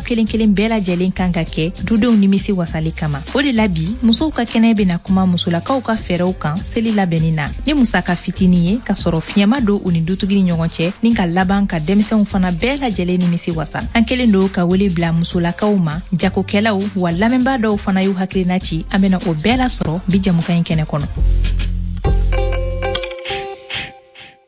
kelen kelen bɛɛ lajɛlen kan ka kɛ dudenw nimisi wasali kama. O de la bi, musow ka kɛnɛ bɛna kuma musolakaw ka fɛɛrɛw kan seli labɛnni na ni musaka fitinin ye, ka sɔrɔ fiɲɛ ma don u ni dutigi ni ɲɔgɔn cɛ, ni ka laban ka denmisɛnw fana bɛɛ lajɛlen nimisi wasa. An kelen don ka wele bila musolakaw ma, jagokɛlaw wa lamɛnbaa dɔw fana y'u hakilina ci. An bɛna o bɛɛ lasɔrɔ bi jɛmukan in kɛnɛ kɔnɔ.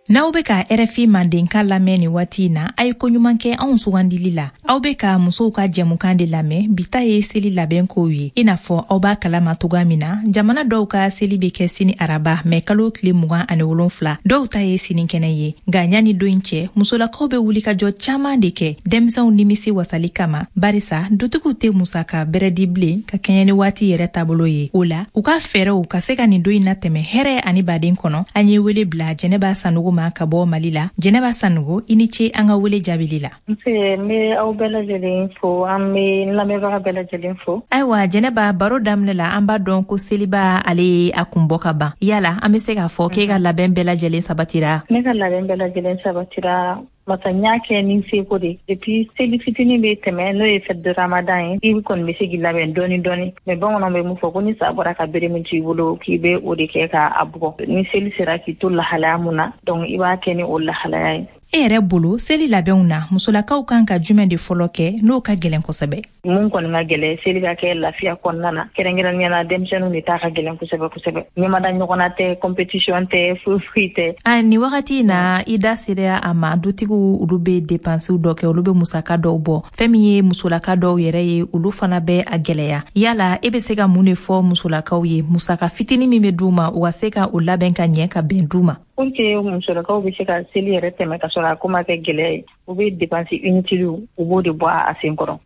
N'aw bɛ ka RFI Mandenkan lamɛn nin waati in na, a ye koɲuman kɛ anw sugandili la. Aw bɛ ka musow ka jɛmukan de lamɛn. Bi ta ye seli labɛn kow ye. I n'a fɔ aw b'a kalama cogoya min na, jamana dɔw ka seli bɛ kɛ sini araba, mɛ kalo tile 27. Dɔw ta ye sinikɛnɛ ye. Nka ɲani don in cɛ, musolakaw bɛ wulikajɔ caman de kɛ denmisɛnw nimisi wasali kama, barisa dutigiw tɛ musaka bɛrɛ di bilen ka kɛɲɛ ni waati yɛrɛ taabolo ye. O la, u ka fɛɛrɛw ka se ka nin don in natɛmɛ hɛrɛ ani baden kɔnɔ, an ye wele bila Jɛnɛba Sanogo ma ka bɔ Mali la. Jɛnɛba Sanogo, i ni ce an ka wele jaabili la. Nse, n bɛ aw bɛɛ lajɛlen fo, an bɛ n lamɛnbaga bɛɛ lajɛlen fo. Ayiwa Jɛnɛba, baro daminɛ la, an b'a dɔn ko seliba ale ye a kun bɔ ka ban. Yala an bɛ se k'a fɔ k'e ka labɛn bɛɛ lajɛlen sabatira? Ne ka labɛn bɛɛ lajɛlen sabatira. Masa n y'a kɛ ni seko de. Et puis seli fitinin bɛ tɛmɛ, n'o ye fête de Ramadan ye, i kɔni bɛ se k'i labɛn dɔɔni dɔɔni. Mais bamananw bɛ mun fɔ ko ni sa bɔra ka bere min to i bolo, k'i bɛ o de kɛ k'a bugɔ. Ni seli sera k'i to lahalaya mun na, donc i b'a kɛ ni o lahalaya ye. E yɛrɛ bolo, seli labɛnw na, musolakaw kan ka jumɛn de fɔlɔ kɛ n'o ka gɛlɛn kosɛbɛ? Mun kɔni ka gɛlɛn, seli ka kɛ lafiya kɔnɔna na, kɛrɛnkɛrɛnnenya la denmisɛnninw de ta ka gɛlɛn kosɛbɛ kosɛbɛ. Ɲɛmada ɲɔgɔnna tɛ, compétition tɛ, foyi foyi tɛ. A nin wagati in na, i da sera a ma, dutigiw olu bɛ dépenses dɔ kɛ, olu bɛ musaka dɔw bɔ. Fɛn min ye musolaka dɔw yɛrɛ ye, olu fana bɛ a gɛlɛya. Yala e bɛ se ka mun de fɔ musolakaw ye, musaka fitinin min bɛ d'u ma, u ka se ka o labɛn ka ɲɛ ka bɛn d'u ma? Pour que musolakaw bɛ se ka seli yɛrɛ tɛmɛ ka sɔrɔ a ko ma kɛ gɛlɛya ye, u bɛ dépense inutile, u b'o de bɔ a sen kɔrɔ.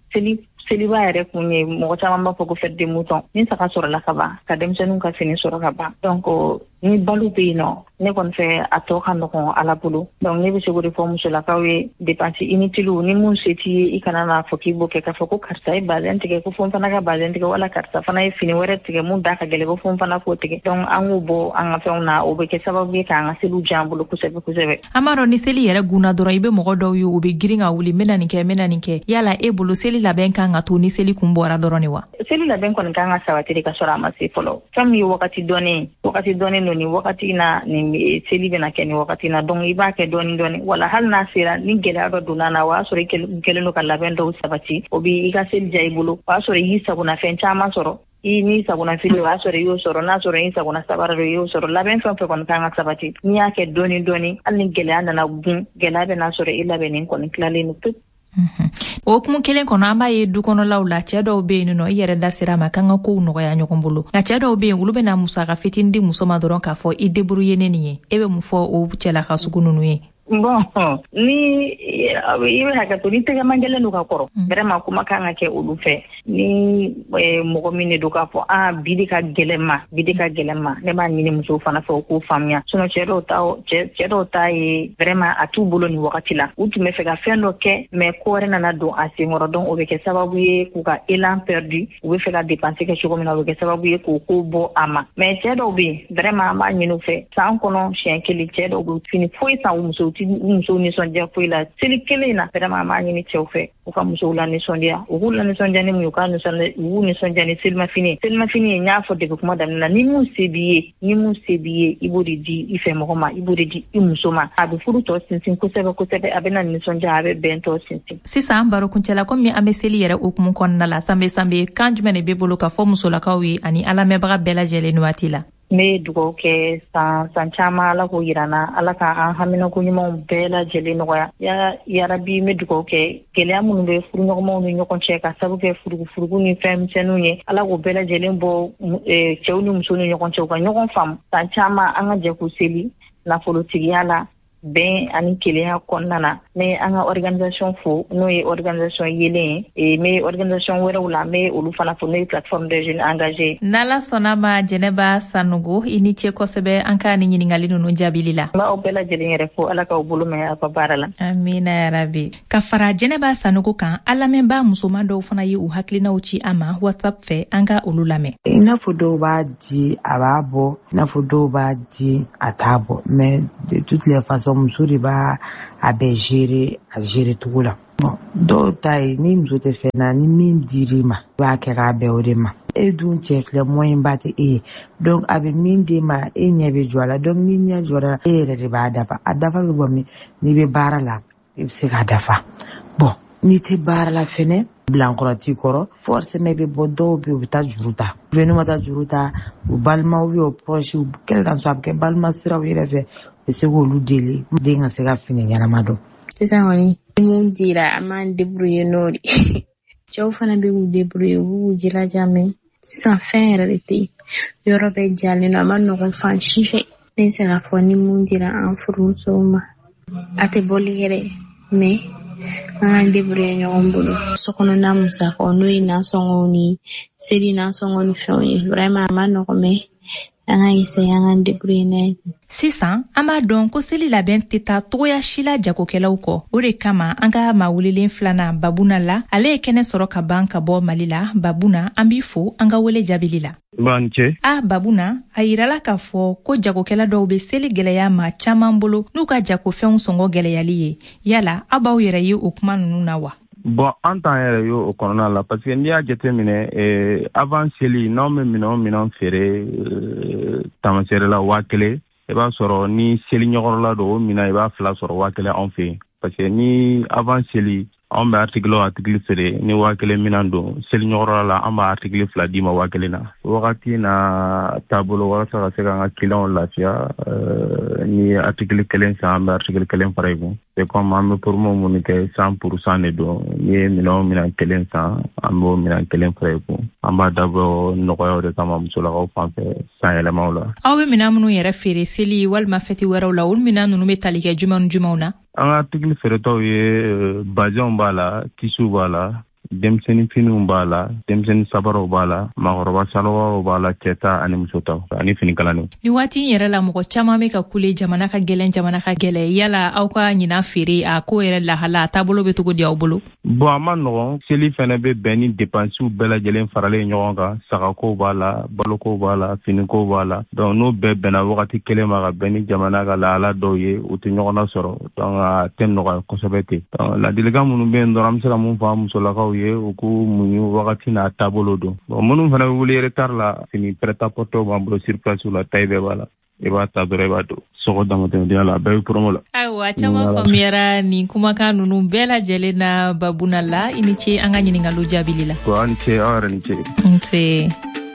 Seliba yɛrɛ kun ye, mɔgɔ caman b'a fɔ ko fête de mouton. Ni saga sɔrɔla ka ban, ka denmisɛnninw ka fini sɔrɔ ka ban, donc ni balo bɛ yen nɔ, ne kɔni fɛ a tɔ ka nɔgɔn Ala bolo. Donc ne bɛ se k'o de fɔ musolakaw ye, dépense inutile, ni mun se t'i ye, i kana n'a fɔ k'i b'o kɛ, k'a fɔ ko karisa ye bazɛn tigɛ ko fo n fana ka bazɛn tigɛ, wala karisa fana ye fini wɛrɛ tigɛ mun da ka gɛlɛn ko fo n fana k'o tigɛ. Donc an k'o bɔ an ka fɛnw na, o bɛ kɛ sababu ye k'an ka seliw diya an bolo kosɛbɛ kosɛbɛ. An b'a dɔn ni seli yɛrɛ gunna dɔrɔn, i bɛ mɔgɔ dɔw ye, u bɛ girin ka wuli, n bɛna nin kɛ, n bɛna nin kɛ. Yala e bolo, seli labɛn kan ka to ni seli kun bɔra dɔrɔn de wa? Seli labɛn kɔni kan ka sabati ka sɔrɔ a ma se fɔlɔ. Fɛn min ye wagati dɔnnen, wagati dɔnnen don, nin wagati na, nin seli bɛna kɛ nin wagati na, donc i b'a kɛ dɔɔni dɔɔni. Wala hali n'a sera, ni gɛlɛya dɔ donna na, o y'a sɔrɔ i kɛlen don ka labɛn dɔw sabati, o b'i ka seli diya i bolo. O y'a sɔrɔ i y'i sagonafɛn caman sɔrɔ. I ni sagona fini, o y'a sɔrɔ i y'o sɔrɔ. N'a sɔrɔ i sagona sabara dɔ, i y'o sɔrɔ. Labɛn fɛn fɛn kɔni kan ka sabati, n'i y'a kɛ dɔɔni dɔɔni, hali ni gɛlɛya nana gun, gɛlɛya bɛna sɔrɔ i labɛnnen kɔni tilalen don pewu. O hukumu kelen kɔnɔ, an b'a ye du kɔnɔlaw la, cɛɛ dɔw be yen nɔ, i yɛrɛ da sera a ma k'an ka kow nɔgɔya ɲɔgɔn bolo, nka cɛɛ dɔw be yen, olu bɛna musaka fitinin di muso ma dɔrɔn k'a fɔ i débrouiller ne nin ye. E bɛ mun fɔ o cɛlaka sugu ninnu ye? Bon, ni i bɛ hakɛ to, ni tɛgɛman gɛlɛn don ka kɔrɔ, vraiment kuma kan ka kɛ olu fɛ. Ni mɔgɔ min de don k'a fɔ a bi de ka gɛlɛn ma, bi de ka gɛlɛn ma, ne b'a ɲini musow fana fɛ, u k'o faamuya. Sinon cɛ dɔw ta ye vraiment a t'u bolo nin wagati la. U tun bɛ fɛ ka fɛn dɔ kɛ, mais ko wɛrɛ nana don a senkɔrɔ, donc o bɛ kɛ sababu ye k'u ka élan perdu. U bɛ fɛ ka dépenser kɛ cogo min na, o bɛ kɛ sababu ye k'o ko bɔ a ma. Mais cɛ dɔw bɛ yen, vraiment an b'a ɲini u fɛ, san kɔnɔ siɲɛ kelen, cɛ dɔw bɛ fini foyi san u musow ti u musow nisɔndiya foyi la seli kelen in na. Vraiment an b'a ɲini cɛw fɛ, u ka musow la nisɔndiya. U k'u la nisɔndiya ni mun ye? U k'u nisɔndiya ni selimafini. Selimafini ye, n y'a fɔ depuis kuma daminɛ na, ni mun se b'i ye, ni mun se b'i ye, i b'o de di i fɛ mɔgɔ ma, i b'o de di i muso ma. A bɛ furu tɔ sinsin kosɛbɛ kosɛbɛ, a bɛ na nisɔndiya, a bɛ bɛn tɔ sinsin. Sisan baro kuncɛla, komi an bɛ seli yɛrɛ hukumu kɔnɔna la, Sanbe Sanbe, kan jumɛn de b'e bolo ka fɔ musolakaw ye ani an lamɛnbaga bɛɛ lajɛlen nin waati la? N bɛ dugawu kɛ san san caman, Ala k'o yira n na, Ala ka an haminako ɲumanw bɛɛ lajɛlen nɔgɔya ya yarabi. N bɛ dugawu kɛ, gɛlɛya minnu bɛ furuɲɔgɔnmaw ni ɲɔgɔn cɛ ka sababu kɛ furugufurugu ni fɛn misɛnninw ye, Ala k'o bɛɛ lajɛlen bɔ cɛw ni musow ni ɲɔgɔn cɛ, u ka ɲɔgɔn faamu. San caman an ka jɛ k'u seli nafolotigiya la, bɛn ani kelenya kɔnɔna na. N bɛ an ka organisation fo, n'o ye organisation yelen ye. N bɛ organisation wɛrɛw la, n bɛ olu fana fo, n'o ye Plateforme des jeunes engagés. N'Ala sɔnna ma, Jɛnɛba Sanogo, i ni ce kosɛbɛ an ka ni ɲininkali ninnu jaabili la. N b'aw bɛɛ lajɛlen yɛrɛ fo, Ala k'aw bolo mɛn aw ka baara la. Amina yarabi. Ka fara Jɛnɛba Sanogo kan, an lamɛnbaa musoman dɔw fana ye u hakilinaw ci an ma WhatsApp fɛ. An ka olu lamɛn. I n'a fɔ dɔw b'a di, a b'a bɔ, i n'a fɔ dɔw b'a di, a t'a bɔ, mais de toutes les façons façon muso de b'a a bɛɛ gérer a gérer cogo la. Bon, dɔw ta ye ni muso tɛ fɛn na, ni min dir'i ma, i b'a kɛ k'a bɛn o de ma. E dun cɛ filɛ, moyen ba tɛ e ye, donc a bɛ min d'e ma, e ɲɛ bɛ jɔ a la. Donc ni ɲɛ jɔra, e yɛrɛ de b'a dafa. A dafa bɛ bɔ min? N'i bɛ baara la, i bɛ se k'a dafa. Bon, n'i tɛ baara la fɛnɛ, bilankɔrɔ t'i kɔrɔ, forcément i bɛ bɔ. Dɔw bɛ yen, u bɛ taa juru ta. Ou bien n'u ma taa juru ta, u balimaw ou bien u proche, quel qu'en soit, a bɛ kɛ balima siraw yɛrɛ fɛ, u bɛ se k'olu deli, den ka se ka fini ɲɛnama don. Sisan kɔni, ni mun dira, an b'an débrouiller n'o de. Cɛw fana bɛ k'u débrouiller, u b'u jilaja, mais sisan fɛn yɛrɛ de tɛ yen, yɔrɔ bɛɛ jalen don, a ma nɔgɔn fan si fɛ. Ne bɛ se k'a fɔ ni mun dira an furumusow ma, a tɛ bɔli kɛ dɛ, mais an k'an débrouiller ɲɔgɔn bolo. Sokɔnɔna musakaw, n'o ye nasɔngɔw ni seli nasɔngɔ ni fɛnw ye, vraiment a ma nɔgɔn, mais an ka essayer an k'an débrouiller n'a ye. Sisan an b'a dɔn ko seli labɛn tɛ taa togoya si la jagokɛlaw kɔ. O de kama an ka maa welelen filanan, Babuna la, ale ye kɛnɛ sɔrɔ ka ban ka bɔ Mali la. Babuna, an b'i fo an ka wele jaabili la. B'an cɛ. A Babuna, a yirala k'a fɔ ko jagokɛla dɔw bɛ seli gwɛlɛya ma caaman bolo n'u ka jagofɛnw sɔngɔ gwɛlɛyali ye. Yala aw b'aw yɛrɛ ye o kuma nunu na wa? Bon, an t'an yɛrɛ ye o kɔnɔna la, parce que n'i y'a jateminɛ, avant seli, n'anw bɛ minɛn o minɛn feere tamaseere la 1000, i b'a sɔrɔ ni seli ɲɛkɔrɔla don, o minɛn i b'a fila sɔrɔ 1000 anw fɛ yen. Parce que ni avant seli, anw bɛ article o article feere ni 1000 minɛn don, seli ɲɛkɔrɔla la, an b'a article fila d'i ma 1000 na. Wagati na taabolo, walasa ka se k'an ka clients lafiya, ni article kelen san, an bɛ article kelen fara i kun. C'est comme an bɛ promo minnu kɛ, 100% de don. N'i ye minɛn o minɛn kelen san, an b'o minɛn kelen fara i kun. An b'a dabɔ nɔgɔyaw de kama musolakaw fan fɛ san yɛlɛmaw la. Aw bɛ minɛn minnu yɛrɛ feere seli walima fɛti wɛrɛw la, olu minɛn ninnu bɛ tali kɛ jumɛn ni jumɛnw na? An ka article feeretaw ye, bazɛnw b'a la, tisuw b'a la, denmisɛnnin finiw b'a la, denmisɛnnin sabaraw b'a la, maakɔrɔba salɔgɔw b'a la, cɛ ta ani muso ta ani fini kalaninw. Ni waati in yɛrɛ la, mɔgɔ caman bɛ ka kule jamana ka gɛlɛn, jamana ka gɛlɛn. Yala aw ka ɲinan feere, a ko yɛrɛ lahala, a taabolo bɛ cogo di aw bolo? Bon, a ma nɔgɔn. Seli fɛnɛ bɛ bɛn ni depansiw bɛɛ lajɛlen faralen ɲɔgɔn kan. Sagakow b'a la, balokow b'a la, finikow b'a la. Donc n'o bɛɛ bɛnna wagati kelen ma ka bɛn ni jamana ka lahala dɔw ye, u tɛ ɲɔgɔn lasɔrɔ. Donc a tɛ nɔgɔya kosɛbɛ ten. Donc ladilikan minnu bɛ yen dɔrɔn, an bɛ se ka mun fɔ an musolakaw ye, u k'u muɲu, wagati n'a taabolo don. Bon, minnu fana bɛ wuli retard la, fini prêt-à-porter b'an bolo sur place la, taille bɛɛ b'a la. I b'a ta dɔrɔn, i b'a don. Sɔgɔ damatɛmɛdenya la, a bɛɛ bɛ promo la. Ayiwa, caman faamuyara nin kumakan ninnu bɛɛ lajɛlen na. Babuna la, i ni ce an ka ɲininkaliw jaabili la. Aw ni ce, aw yɛrɛ ni ce. Nse.